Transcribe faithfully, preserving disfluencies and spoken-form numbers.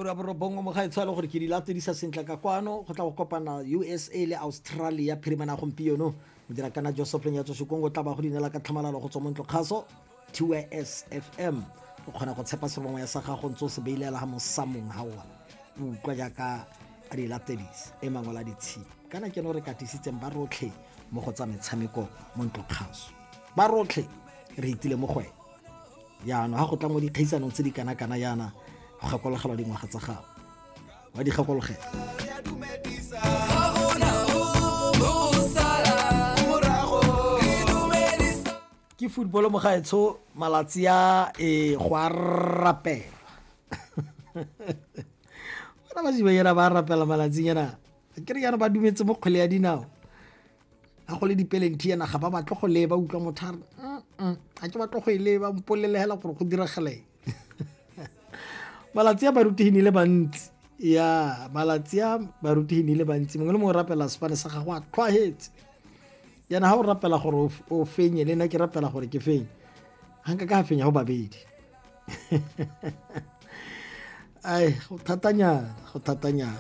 Ka ura borobongwe mo gaetsho, le gore ke di latedisa sentle ka kwano. Go tla go kopana U S A le Australia phirimana gompieno. Modira kana Joseph Lenyatso Shikongo tla ba go dinela ka tlhamalalo go tswa mo ntlo kgaso T S F M. O kgona go tshepa serongwa ya sa gago ntse o se beilela ga mosamong ga wa utlwa jaaka a di latedisa e mangwe la ditshipi. Kana ke no re katisitseng ba rotlhe mo go tsa metshameko mo ntlo kgaso. Ba rotlhe re itile mo go ene. Jaanong ha go tla mo dikgaisanong tse di kana-kana jaana, go gakologelwa dingwaga tsa gago. Wa di gakologela. Ke football mo gaetsho malatsi a e go a rapela. Bana ba Zibayela ba rapela malatsing ana. Ke re yana ba dumetse mo kgwele ya dinao. Ha go le dipelenti yana ga ba batle go leba, utlwa motho a re, mm, ga ke batle go e leba, mpolele hela gore go diragala eng. Malatsi a baruti le bantsi. Ya, malatsi a baruti le bantsi. Mongwe le mongwe o rapela sefane sa gagwe a tlhwaetse. Yana ha o rapela gore o fenye, le nna ke rapela gore ke fenye. Ha nka ka fenya go babedi. Ai, go thatanyana, go thatanyana.